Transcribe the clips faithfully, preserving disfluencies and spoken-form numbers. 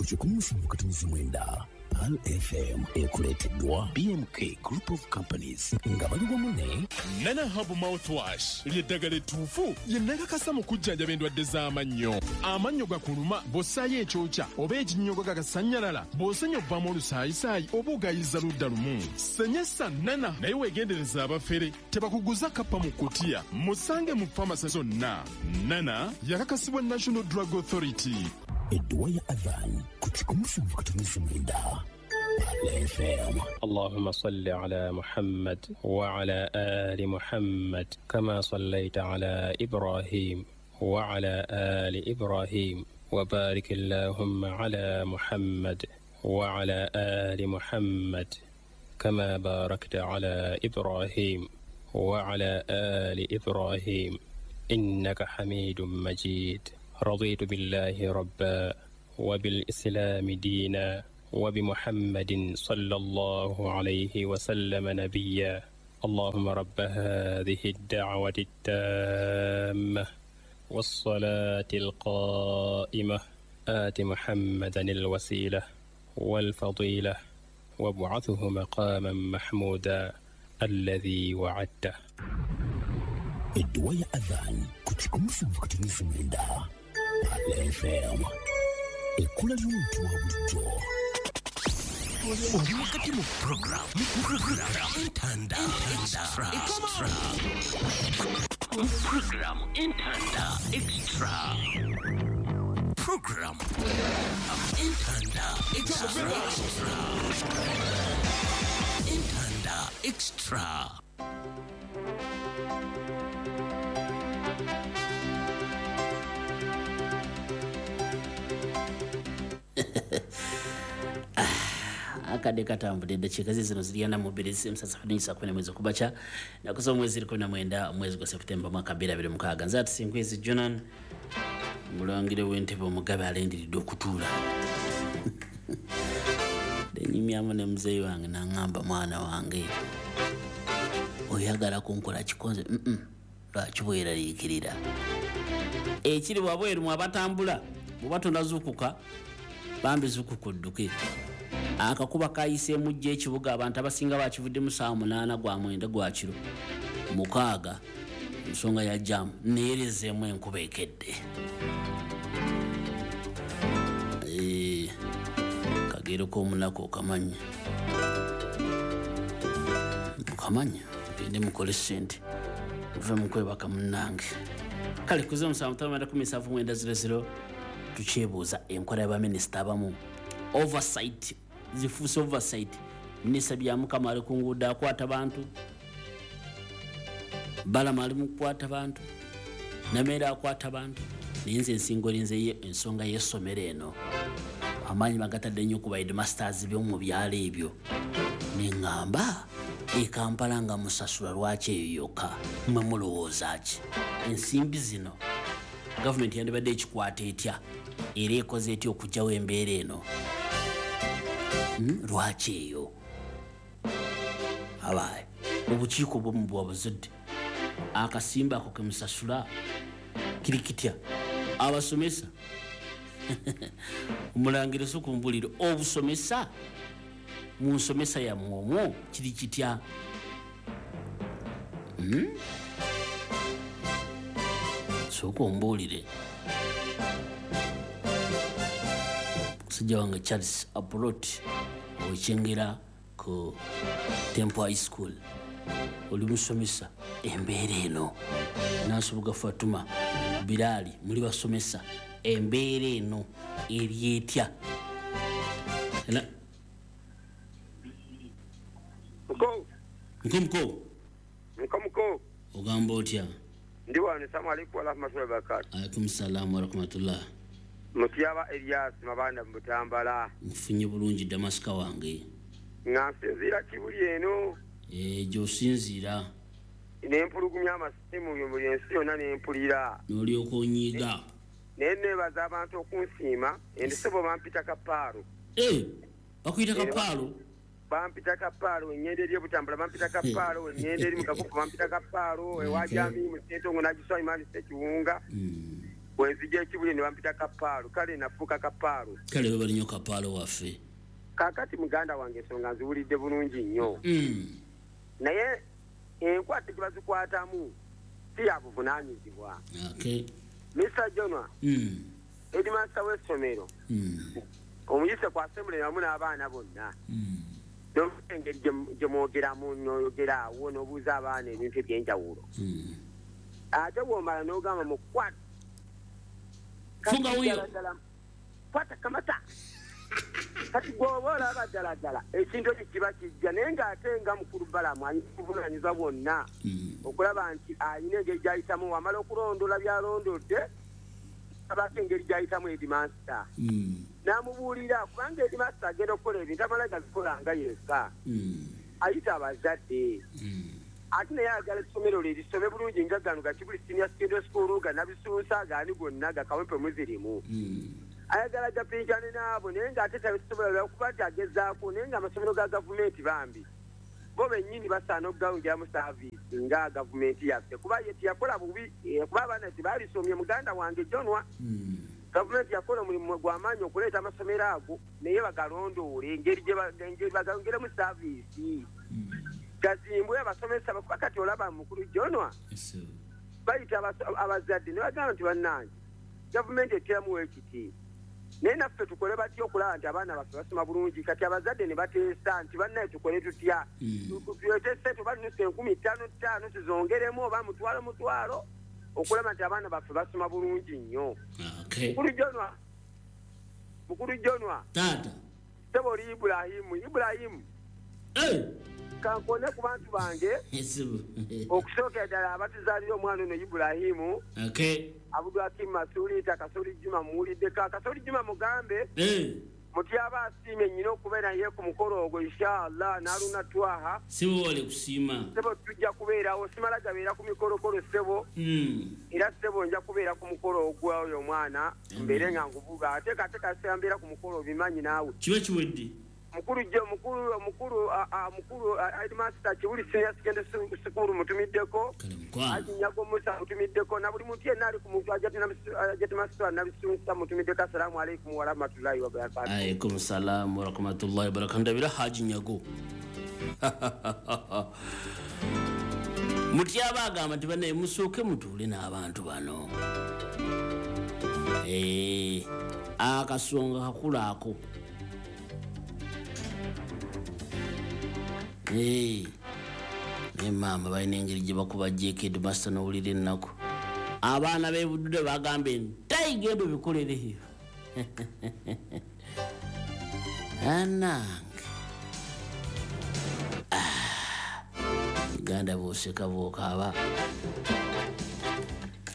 Ku kikumi musanvu katonnyeze mwenda Pearl F M ekuleeteddwa B M K Group of Companies nga bali wamu ne Nana Hub Mouthwash ly'eddagala ettuufu ye nakakasa mu kujjanjaba endwadde z'amannyo. Amannyo gakuluma bw'ossaayo ekyokya oba ekinnyogo gagasannyalala, bw'osenya ovaamu olusaayisaayi oba ogayiza ludda lumu. Senyesa Nana naye weegendereza abafere tebakuguza kappa mu kutiya. Musange mu famasi zonna. Nana yakakasibwa National Drug Authority. Edduwa ya Adhan ku kikumi musanvu katonnyeze mwenda Pearl F M. Allahumma salli ala Muhammad wa ala ali Muhammad kama sallaita ala Ibrahim wa ala ali Ibrahim wa barik Allahumma ala Muhammad wa ala ali Muhammad kama barakta ala Ibrahim wa ala ali Ibrahim innaka Hamidum Majid. رضيت بالله ربا وبالإسلام دينا وبمحمد صلى الله عليه وسلم نبيا. اللهم رب هذه الدعوة التامة والصلاة القائمة آت محمدا الوسيلة والفضيلة وابعثه مقاما محمودا الذي وعدته. Edduwa ya Adhan ku kikumi musanvu katonnyeze mwenda Pearl F M. Ekkula ly'omuntu wa bulijjo. Oli wakati mu program, program Entanda Extra. Program Entanda Extra. Program Entanda Extra. Entanda Extra. Akadde katambudde eddakiika ze zino ziri ana mu bbiri z'emusasa kumi kumi mwezi okubaca nakuza omwezi kumi na mwenda omwezi gwa Septemba mwaka bbiri abiri mukaaga. Nze Atusinkwezi Jonan mulangire w'entebe omugabe alindiridde okutuula. Nnyumyamu ne muzeeyi wange n'aŋŋamba mwana wange oyagala kunkola kikonze lwaki bweraliikirira ekiri wabweru mwe abatambula bw'oba tonazuukuka bambi zuukuka odduke. Akakuba kayiseemu jjo ekibuga abantu abasinga bakivuddemu ssaawa munaana gwa mwenda gwa kiro mukaaga ensonga ya jaamu neerezeemu enkuba ekedde. Eh, kagero k'omunaku okamanya okamanya gende mukole ssente muve mu kwebaka munnange. Kale ku z'omusanvu ttaano mwenda kumi nsanvu mwenda zero zero tukyebuuza enkola y'abaminisita abamu oversight zifuuse oversight. Minisita Byamukama ali ku nguudo akwata bantu, Balama ali mu kukwata bantu, Nameere akwata bantu, naye nze ensingo erinze ensonga y'essomero eno amaanyi bagatadde nnyo ku ba headmasters by'omu byalo ebyo. Ne ŋŋamba e Kampala nga musasula lwaki eyo yokka mmwe mulowooza ki? Ensimbi zino gavumenti yandibadde ekikwata etya era ekoze etya okuggyawo embeera eno? Lwaki eyo? Abaye obukiiko bwomu bwabuzadde akasimba ako ke musasula kiri kitya? Abasomesa omulangira si kumbulira obusomesa mu nsomesa yammwe omwo kiri kitya? Sooka ombuulire. Musajja wange Charles Abrot owekyengera ku Temple High School oli musomesa embeera eno. Nansubuga Fatuma Bilali muli basomesa embeera eno eri etya? Mko. Mko mko. Mko mko. Ogamba otya? Ndi wano, assalamu alaikum wa rahmatullahi wa barakatuh. Alaikum salaam wa rahmatullah. Mutyaba Elias Mabanda mu Butambala. Nfunye bulungi Damasika wange. Nga nsinziira Kibuli eno. Eh, gy'osinziira. Ne mpulugumya amasimu buli ensi yonna ne mpulira. N'olyoka onyiiga. Naye neebaza abantu okunsiima, endisebo bampita Kapaalo. Eh, bakuyita Kapaalo? Bampita Kapaalo, engendo eri e Butambala bampita Kapaalo, engendo eri mu Kakufu bampita Kapaalo, ewa Jami mu Ssentongo n'agiswa Imani Ssekiwunga. Wenzija ekibuli ne bampita Kapaalo, kale nafuuka Kapaalo. Kale webali nnyo Kapaalo waffe. Kaakati muganda wange ensonga nziwulidde bulungi nnyo. Mm. Naye enkwata gye bazikwatamu si ya buvunaanyizibwa. Okay. Mister Jonwa, mm. headmaster w'essomero mm. omuyise ku assembly wamu n'abaana bonna. Mm. Engeri gye mwogeramu n'oyogera awo n'obuuza abaana ebintu eby'enjawulo. Mm. Ate bw'omala n'ogamba mukwata. Funga wuyo. Kwata kamata. Kati gw'oba olaba ddala ddala ekintu ekyo kiba kijja, naye ng'ate nga mukulu Balamu alina obuvunaanyizibwa bwonna okulaba nti alina engeri gy'ayitamu, wamala okulondoola by'alondodde abaako engeri gy'ayitamu headmaster. N'amubuulira kubanga headmaster agenda okukola ebintu amala gabikola nga yekka. Ayita abazadde. Ate naye ayagala essomero lye lisome bulungi nga gano ga Kibuli Senior Secondary School, ga Nabisunsa, gaani gonna ga Kawempe muzirimu. Ayagala gapinkane n'abo, naye ng'ate tabisobola lwakuba nti agezaako, naye ng'amasomero ga gavumenti bambi bo bennyini basaana okugawungiramu saaviisi nga gavumenti yaffe, kuba ye teyakola bubi, kuba abaana tebaalisomye. Muganda wange Jonwa, gavumenti yakola omulimu gw'amaanyi okuleeta amasomero ago, naye bagalondoole engeri gye bagawungiremu saaviisi gazimbwe abasomesa, kuba kati olaba mukulu Jonwa bayita abazadde ne bagamba nti bannange gavumenti eteramu ekiti, naye naffe tukole batya okulaba nti abaana baffe basoma bulungi. Kati abazadde ne bateesa nti bannaye tukole tutya, tuleete ssente oba nusu enkumi ttaano ttaano tuzongeremu oba mutwalo mutwalo okulaba nti abaana baffe basoma bulungi nnyo. Mukulu Jonwa, mukulu Jonwa, taata ssebo oli Ibulahimu, Ibulahimu kankone ku bantu bange okusookera ddala abatuzaalira omwana ono Ibulahimu. Abdulhakim Masuli, Kasoli Juma muwuliddeko. Kasoli Juma mugambe muti aba asiimye nnyina okubeera naye ku mukolo ogwo inshallah n'aluna twaha. Ssebo wale kusiima. Ssebo tujja kubeerawo, simala gabeera ku mikolokolo ssebo. Era ssebo nja kubeera ku mukolo ogwa oyo omwana mbeere nga nkuvuga, ate kate kaseera mbeera ku mukolo obimanyi naawe. Kiba kiwedde. Mukulu je mukulu mukulu mukulu headmaster Kibuli Senior Secondary School mutumiddeko, Akinyago Musa mutumiddeko, na buli muntu yenna ali ku muntu ajja master Nabisunsa mutumiddeko. Assalamu alaikum wa rahmatullahi wa barakatuh. Alaikum salam wa rahmatullahi wa barakatuh. Ndabira Haji Nyago mutyaba agamba nti bannaye musooke mutuule n'abantu bano. Eh, akasonga kakula ako. Hey, naye maama balina engeri gye bakubajjeeko headmaster n'owulira ennaku. Abaana b'ebuddude bagambe ntayi genda obikolereyo. Anange Uganda bw'oseka bw'okaaba.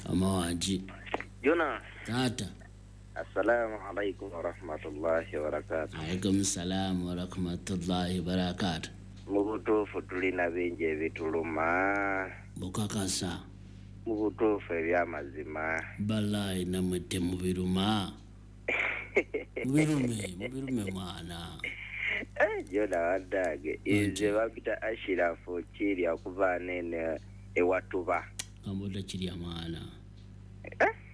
Amawangi Jona. Taata. Assalamu alaikum wa rahmatullahi wa barakatuh. Alaikum salam wa rahmatullahi wa barakatuh. Mu butuufu tulina bingi ebituluma. Bukakasa. Mu butuufu ebyamazima. Balaayi nammwe temubiruma. Mubirume, mubirume mwana. Jona waddange, nze bampita Ashirafu Kirya okuva nene ewatuba. Kamboda Kirya mwana.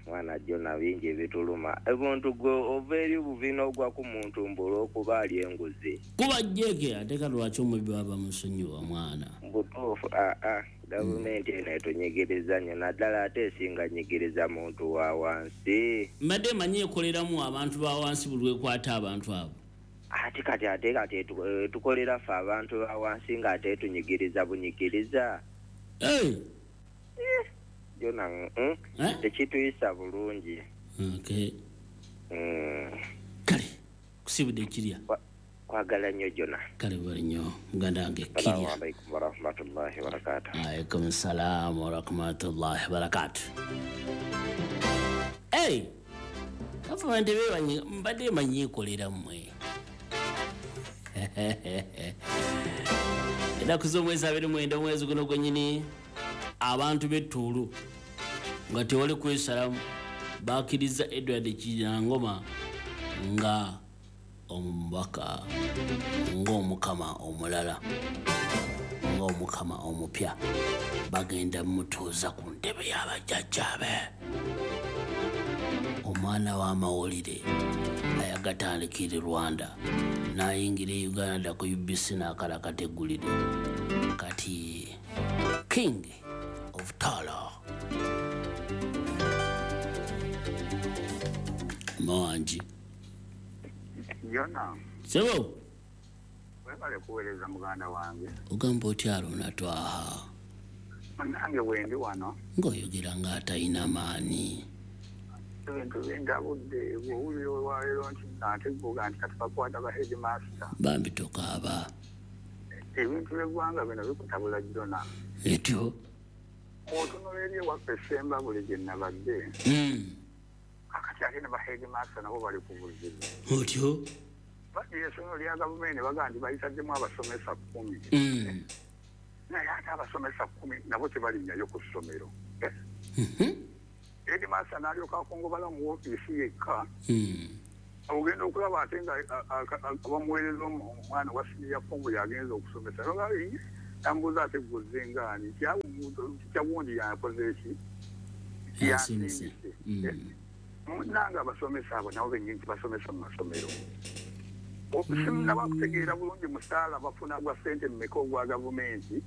Mwana Jona bingi ebituluma. Ebintu gwe ova eri buvi n'ogwa ku muntu mbu olw'okuba alya enguzi. Kuba jeke ate ka lwaki omubbi baba musonyiwa mwana. Butuufu aa gavumenti eno etunyigiriza nnyo, naddala ate esinga nyigiriza muntu wa wansi. Mbadde manyi ekoleramu abantu ba wansi buli lwekwata abantu abo. Ate kati ate kati etukolera ffe abantu ba wansi ng'ate etunyigiriza bunyigiriza. Hey. Jona mm, tekituyisa bulungi. Okay. Mm. Kale kusibudde Kirya. Kwagala nnyo Jona. Kale bali nnyo muganda wange Kirya. Assalamu alaikum wa rahmatullahi wa barakatuh. Alaikum salam wa rahmatullahi wa barakatuh. Hey! Gavumenti beebanyi mbadde manyi ekolera mmwe. Ennaku z'omwezi abiri mwenda omwezi guno gwennyini abantu b'ettuulu nga tewali kwesalamu bakkiriza Edward Kiryangoma nga omubaka, ng'omukama omulala, ng'omukama omupya, bagenda mutuuza ku ntebe y'abajjajjaabe. Mwana w'amawulire ayagatandikira Rwanda n'ayingira e Uganda ku U B C n'akalakata eggulire. Kati King of Tala. Manji. Yona. Sebo. Webale kuweereza muganda wange. Ogamba otya Aruna Twaha? Nange wendi wano. Ng'oyogera ng'atalina maanyi. Ebintu bindabudde bw'owulira olwaleero nti nnateguuga nti kati bakwata ba headmaster. Bambi tokaaba. Ebintu by'eggwanga bino bikutabula Jona. Etyo. Otunula eri ewaffe Ssemba buli gye nabadde. Kakati ate ne ba headmaster nabo bali ku buzibu. Otyo. Bagira essomero lya gavumenti bagamba nti bayitaddemu abasomesa kkumi. Naye ate abasomesa kkumi nabo tebalinnyayo ku ssomero. Headmaster n'alyoka akongobala mu woofiisi yekka. Ogenda okulaba ate nga bamuweereza omwana wa siniya four yagenze okusomesa. Tambuuza ate guzze ngaani kyawundi yakoze ki? Yasindise. Munnange abasomesa abo nabo bennyini tebasomesa mu masomero. Sinnaba kutegeera bulungi musaala bafuna gwa ssente mmeka ogwa gavumenti.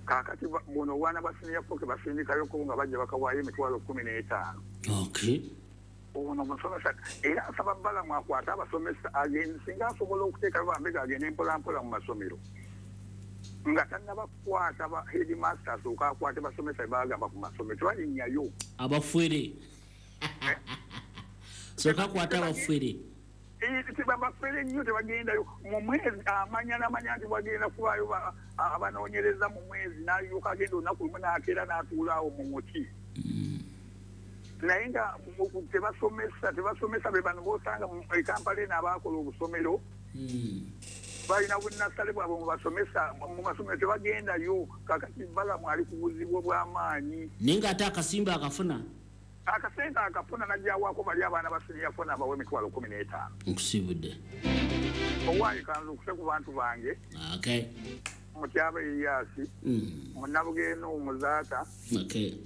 Kaakati buno obwana bwa siniya four ke basindikayoko nga bajja bakawaayo emitwalo kkumi n'etaano. Ono musomesa era asaba Balamu akwate abasomesa agende singa asobola okuteekayo bambega agende mpola mpola mu masomero. Nga tannaba kukwata ba headmaster asooka akwate basomesa be baagamba ku masomero tebalinnyayo. Abafere. Sooka akwate abafere. Tebabafere nnyo tebagendayo mu mwezi amanya n'amanya nti bagenda kubaayo abanoonyereza mu mwezi n'alyoka agenda olunaku lumu n'akeera n'atuula awo mu muti. Naye nga tebasomesa tebasomesa be bano b'osanga e Kampala eno abaakola obusomero balina bunnasale bwabwe mu basomesa mu masomero tebagendayo. Kaakati Balamu ali ku buzibu obw'amaanyi. Naye ng'ate akasimba akafuna. Akasente akafuna n'ajjawaako bali abaana ba siniya four n'abawa emitwalo kkumi n'etaano. Nkusibudde. Owaaye kanzukuse ku bantu bange. Okay. Mutyaba Elias, Munnabugendo Muzaata,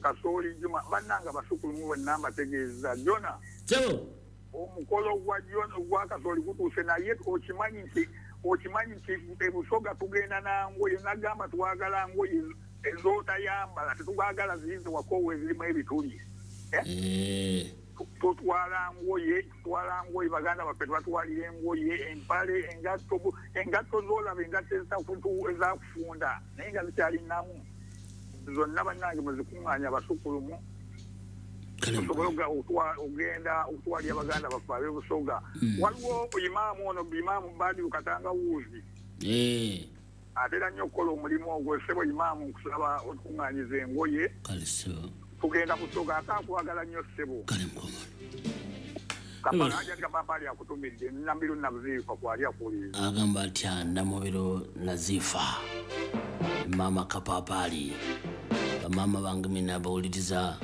Kasooli Juma, bannange abasukulumu bonna mbategeeza. Jona. Sebo. Omukolo gwa Jona gwa Kasooli gutuuse naye okimanyi nti okimanyi nti e Busoga tugenda na ngoye nagamba twagala ngoye ez'otayambala tetwagala ziyinza wakoowa ezirimu ebituli. Eh. Tutwala ngoye tutwala ngoye baganda baffe tubatwalira engoye empale engatto engatto z'olaba engatto ezakufunda naye nga zikyali nnamu zonna bannange muzikuŋŋaanya abasukulumu tusobole ogenda okutwalira baganda baffe ab'e Busoga. Waliwo imaamu ono imaamu Badiru Katangawuuzi atera nnyo okukola omulimu ogwo. Ssebo imaamu nkusaba otukuŋŋaanyiza engoye tugenda Busoga ate akwagala nnyo ssebo. Kale mukoma. Kapala kapapali akutumidde Nambiru Nazifa kwali akuwuliriza. Agamba atya Namubiro Nazifa maama Kapapali bamaama bange mina bawuliriza.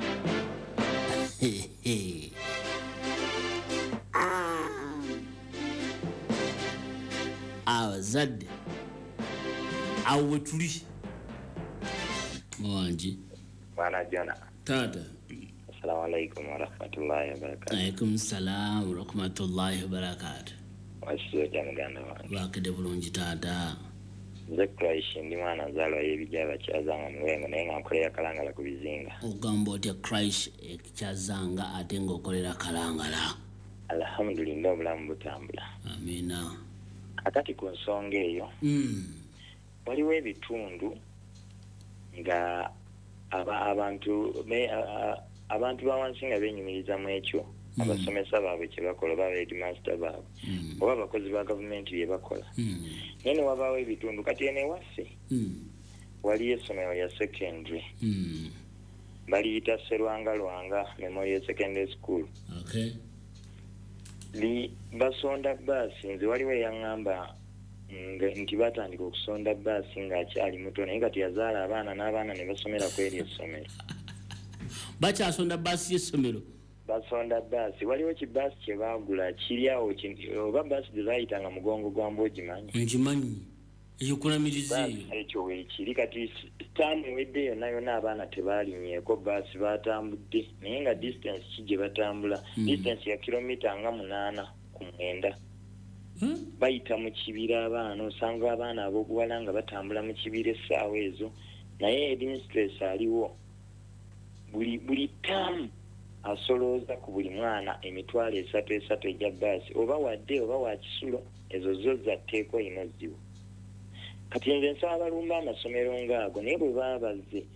Abazadde awo we tuli. Wangi. Bwana Jona. Taata. Assalamu alaikum warahmatullahi wabarakatuh. Alaikum salam warahmatullahi wabarakatuh. Wasuze otya muganda wange? Wakidde bulungi taata. Nze Christ ndi mwana nzaalwa y'ebijja Kyazanga Muwengo naye nga nkolera Kalangala ku bizinga. Ogamba otya Christ Kyazanga ate ng'okolera Kalangala? Alhamdulillah obulamu butambula. Amiina. Akati ku nsonga eyo mm. waliwo ebitundu nga aba abantu me, a, abantu ba wansi nga benyumiriza mu ekyo mm. abasomesa baabwe kye bakola oba headmaster baabwe mm. oba abakozi ba gavumenti bye bakola mm. naye ne wabaawo ebitundu kati eno ewaffe mm. waliyo essomero lya secondary mm. baliyita Serwanga Lwanga Memorial Secondary School. Okay. Li basonda bbaasi. Nze waliwo eyaŋŋamba nti batandika okusonda bbaasi ng'akyali muto naye kati yazaala abaana n'abaana ne basomera ku eryo essomero. Bakyasonda bbaasi y'essomero? Basonda bbaasi. Waliwo kibbaasi kye baagula kiri awo oba bbaasi gye baayitanga mugongo gwa mbwa ogimanyi? Ngimanyi. Eyo kulamiriza eyo. Ekyo weekiri kati taamu ewedde yonna yonna abaana tebaalinnyeko baasi, batambudde naye nga distance ki gye batambula, distance ya kilomita nga munaana ku mwenda. Bayita mu kibira abaana, osanga abaana ab'obuwala nga batambula mu kibira essaawa ezo, naye headmistress aliwo buli buli taamu asolooza ku buli mwana emitwalo esatu esatu egya baasi, oba wadde oba wa kisulo, ezo zo zatteekwa ino ziwo. Kati nze nsaba balumba amasomero ng'ago, naye bwe baba bazze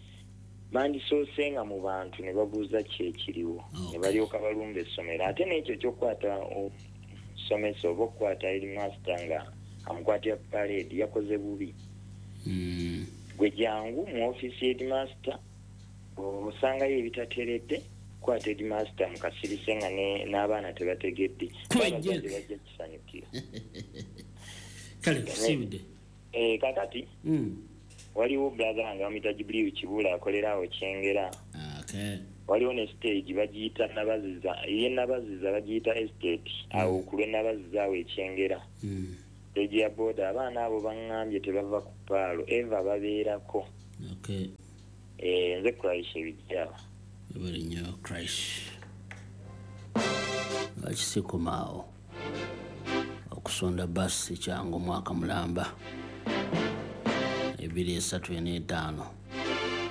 bandisoose nga mu bantu ne babuuza ki ekiriwo, ne balyoka balumba essomero. Ate n'ekyo ekyokukwata omusomesa oba okukwata headmaster nga amukwatira parade yakoze bubi. Gwe jangu mu ofiisi headmaster osangayo ebitateredde, kwata headmaster mukasirise nga n'abaana tebategedde, abazadde bajja kisanyukira. Kale kusiibudde. Eh, kakati mm. waliwo brother wange bamuyita Jibril Kibula akolera awo Kyengera. Okay. Waliwo ne stage bagiyita Nabaziza, ye Nabaziza bagiyita estate awo ku lw'e Nabaziza awo e Kyengera. Mm. Stage ya boda abaana abo baŋŋambye tebava ku paalo, Eva babeerako. Okay. Eh, nze Christ ebijja. Webale nnyo Christ. Lwaki sikomaawo okusonda baasi kyangu omwaka mulamba ebiri esatu ena etaano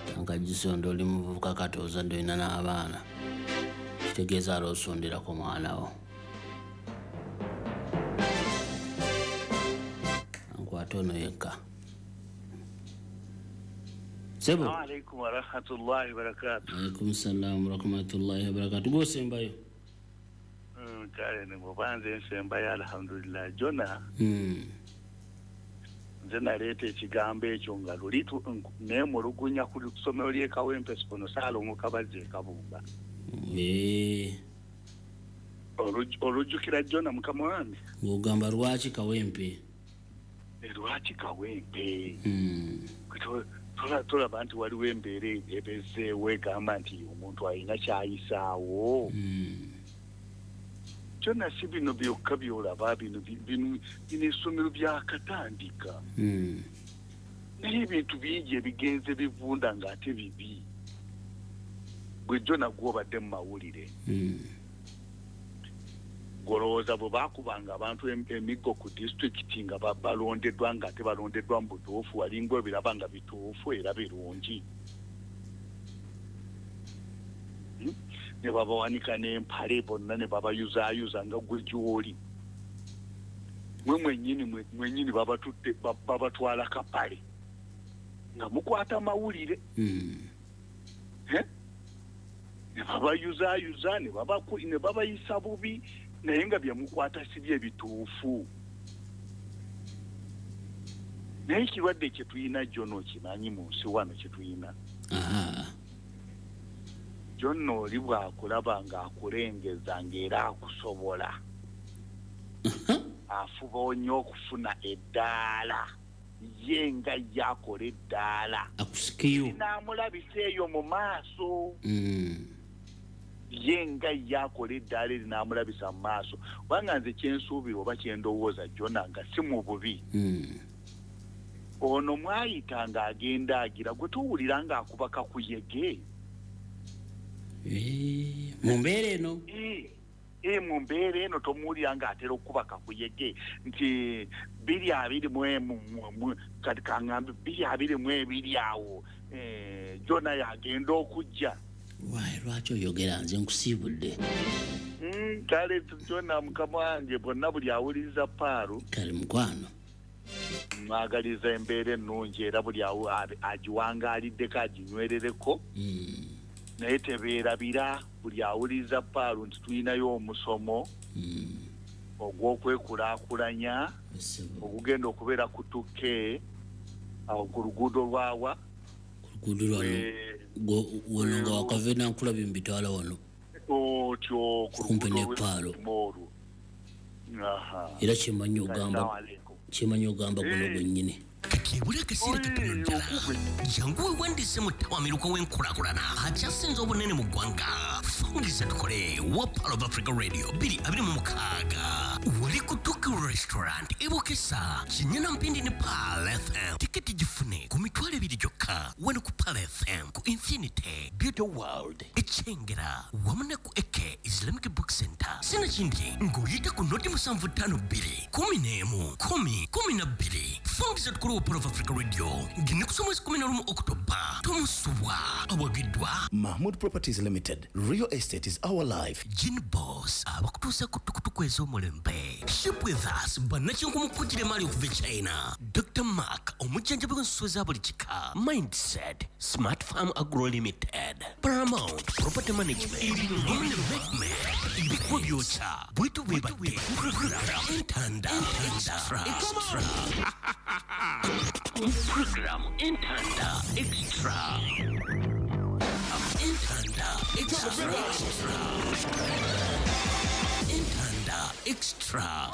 tanka gisonda oli muvubuka kati ozadde olina n'abaana, kitegeeza ala osonderako mwana wo. Ankwate ono yekka. Sebo. Assalamu alaikum wa rahmatullahi wa barakatuh. Alaikum salam wa rahmatullahi wa barakatuh. Gwosembayo. Kale ne bwanze nsembayo alhamdulillah. Jona. Mm. Nze naleeta ekigambo ekyo nga luli neemulugunya ku ssomero ly'e Kawempe Sipono Ssaalongo Kabazzi e Kabumba. Eh. Olujjukira Jona mukama wange? Ng'ogamba lwaki Kawempe? Lwaki Kawempe? Mm. Tulaba nti waliwo embeera ebezeewo egamba nti omuntu alina ky'ayisaawo. Mm. Kyonna si bino byokka by'olaba, bino bino bino essomero byakatandika. Mm. Naye ebintu bingi ebigenze bivunda ng'ate bibi. Gwe Jona gw'obadde mu mawulire. Mm. Golowooza bwe baakubanga abantu emiggo ku disitulikiti nga balondeddwa ng'ate balondeddwa mu butuufu, walinga ebiraba nga bituufu era birungi. Hmm? Ne babawanika n'empale bonna ne babayuzaayuza nga gwe gy'oli. Mwe mwennyini mwennyini babatutte babatwala kapale nga mukwata mawulire. Mm. Eh? Ne babayuzaayuza ne babaku ne babayisa bubi naye nga bye mukwata si bye bituufu. Naye ekirwadde kye tuyina Jona okimanyi mu nsi wano kye tuyina. Aha. Jona oli bw'akulaba ng'akulengeza ng'era akusobola. Afuba nnyo okufuna eddaala. Ye nga ye akola eddaala. Akusikiyo. N'amulabisa eyo mu maaso. Mm. Ye nga ye akola eddaala eri n'amulabisa mu maaso. Kubanga nze kye nsuubira oba kye ndowooza Jona nga si mu bubi. Mm. Ono mwayita ng'agenda agira gwe towulira ng'akuba kakuyege. Eh, mu mbeera eno? Eh, mu mbeera eno tomuwulira ng'atera okuba kakuyege nti biri abiri mu emu kati kaŋŋambe biri abiri mu ebiri awo Jona yagenda okujja. Why lwaki oyogera nze nkusiibudde? Kale Jona mukama wange bonna buli awuliriza Paalu. Kale mukwano. Mwagaliza embeera ennungi era buli agiwangaaliddeko aginywerereko. Naye tebeerabira buli awuliriza Paalu nti tulinayo omusomo ogw'okwekulaakulanya ogugenda okubeera ku Tuke awo ku luguudo lwawa. Ku luguudo lwano wano nga wakava Nankulabye mu bitwala wano. Otyo ku Kumpi luguudo ne Paalo. olwo. Era kyemanyi ogamba kyemanyi ogamba guno gwennyini. Kati ebula akaseera katono ddala jangu weewandiise mu ttawamiruka w'enkulaakulana akyasinze obunene mu ggwanga. Fungiza tukole wa Pearl of Africa Radio bbiri abiri mu mukaaga wali ku Tuke Restaurant. Ebukesa Kinyana Mpindi ne Pearl F M. Tiketi gifune ku mitwalo ebiri gyokka wano ku Pearl F M, ku Infinity Beauty World Ekyengera wamu ne ku Eke Islamic Book Center. Sinakindi ng'oyita ku noti musanvu ttaano bbiri kumi n'emu kumi kumi na bbiri. Fungiza tukulu Pearl of Africa Radio ng'ennaku z'omwezi kumi na lumu Oktoba. Tomusubwa awagiddwa Mahmood Properties Limited. Real estate is our life. Gin Boss abakutuusa ku tukutuku ez'omulembe. Ship with us bannakinku kugira emali okuva e China. Doctor Mark omujjanjabi w'ensolo za buli kika. Mindset Smart Farm Agro Limited, Paramount Property Management, wamu ne Mekme ebikuba byokya bwetu bwebadde program Entanda Extra. Extra Program Entanda Extra. Entanda Extra. Entanda Extra.